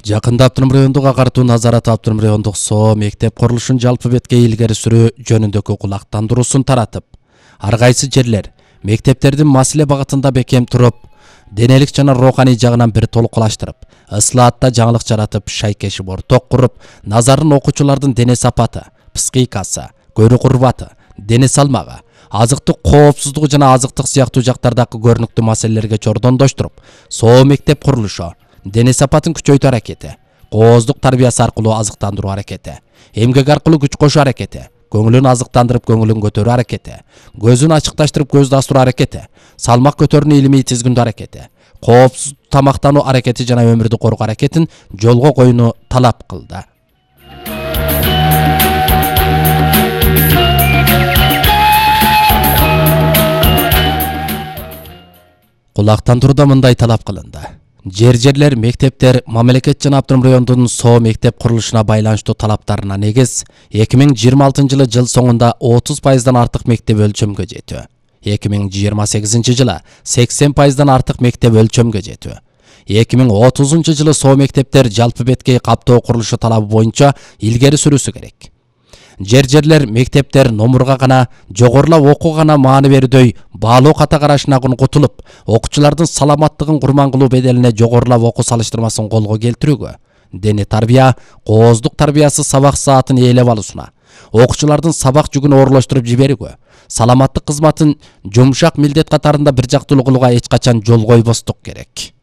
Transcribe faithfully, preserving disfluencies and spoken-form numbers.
Жакында Автоном райондук агартуу назараты Автоном райондук соо мектеп курулушун жалпы бетке илгери сүрүү жөнүндөгү кулактандыруусун таратып, ар кайсы жерлер мектептердин маселе багытында бекем туруп, денелик жана роуханий жагынан бир толукулаштырып, ыслаатта жаңылык жаратып, шайкешип орток куруп, назарын окуучулардын дене сапаты, психикасы, көрүү курбаты, дене салмагы, азыктык коопсуздугу жана азыктык сыяктуу жактардагы көрүнүктүү маселелерге чордондоштуруп, соо мектеп курулушу дене сапатын күчөйтүү аракети, кооздук тарбиясы аркылуу азыктандыруу аракети, эмгек аркылуу күч кошуу аракети, көңүлүн азыктандырып көңүлүн көтөрүү аракети, көзүн ачыкташтырып көздү астыруу аракети, салмак көтөрүүнү илимий тизгиндөө аракети, коопсуз тамактануу аракети жана өмүрдү коргоо аракетин жолго коюуну талап кылды. Кулактандырууда мындай талап кылынды. Жер-жерлер, мектептер, мамлекет жана Автоном райондун соо мектеп курулушуна байланыштуу талаптарына негиз эки миң жыйырма алтынчы жылы жыл соңунда отуз пайыздан артык мектеп өлчөмгө жетүү, эки миң жыйырма сегизинчи жылы сексен пайыздан артык мектеп өлчөмгө жетүү, эки миң отузунчу жылы соо мектептер жалпы беткей каптоо курулушу талабы боюнча илгери сүрүүсү керек. Жер-жерлер, мектептер номурга гана, жогорулап окууга гана маани берүүдөй баалоо ката карашынан кутулуп, окуучулардын саламаттыгын курман кылуу беделине жогорулап окуу салыштырмасын колго келтирүүгө, дене тарбия, кооздук тарбиясы сабак саатын ээлеп алуусуна, окуучулардын сабак жүгүн оорлоштуруп жиберүүгө, саламаттык кызматын жумшак милдет катарында бир жактуулуу кылууга эч качан жол койбостук керек.